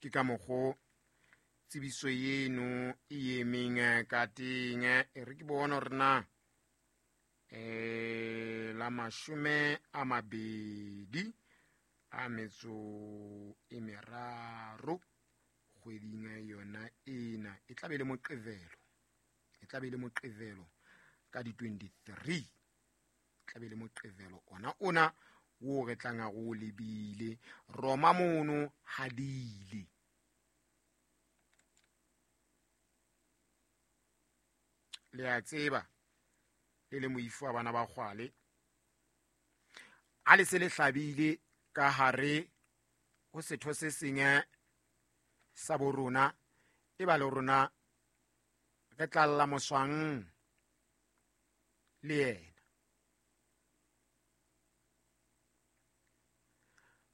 Ke ka mokgo tsebiso eno e emeng ka teng. E re ke bone hore na la 23 kgweding yona ena e tla be le Moqebelo, e tla be le Moqebelo ka di 23, tla be le Moqebelo ona wo re tlang a go lebile Roma mono hadile. Le a tseba le le moifo wa bana ba kgwale a le se le hlabile ka hare ho setho se seng sa bo rona, e ba le rona re tlalla moswang le yena.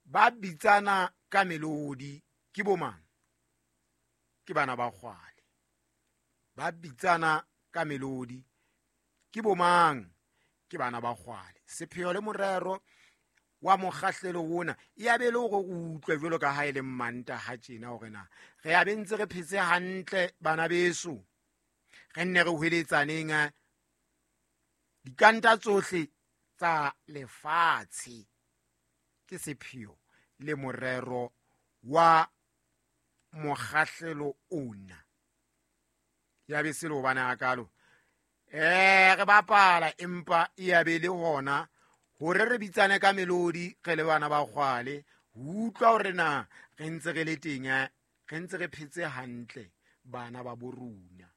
Ba bitsana ka melodi ke bomang? Ke bana ba kgwale. Ba bitsana ka melodi ke bomang? Ke bana ba kgwale. Sepheo le morero wa mokgahlelo ona e a be le hore o utlwe jwalo ka ha e le Mantaha tjena hore na re a be ntse re phetse hantle bana beso, re nne re hweletsaneng dikanta tsohle tsa lefatshe. Ke sepheo le morero wa mokgahlelo ona. Ya be se le hobane hakalo re bapala, empa e ya be le hona hore re bitsane ka melodi re le bana ba kgwale, ho utlwa hore na re ntse re le teng, re ntse re phetse hantle bana ba bo rona.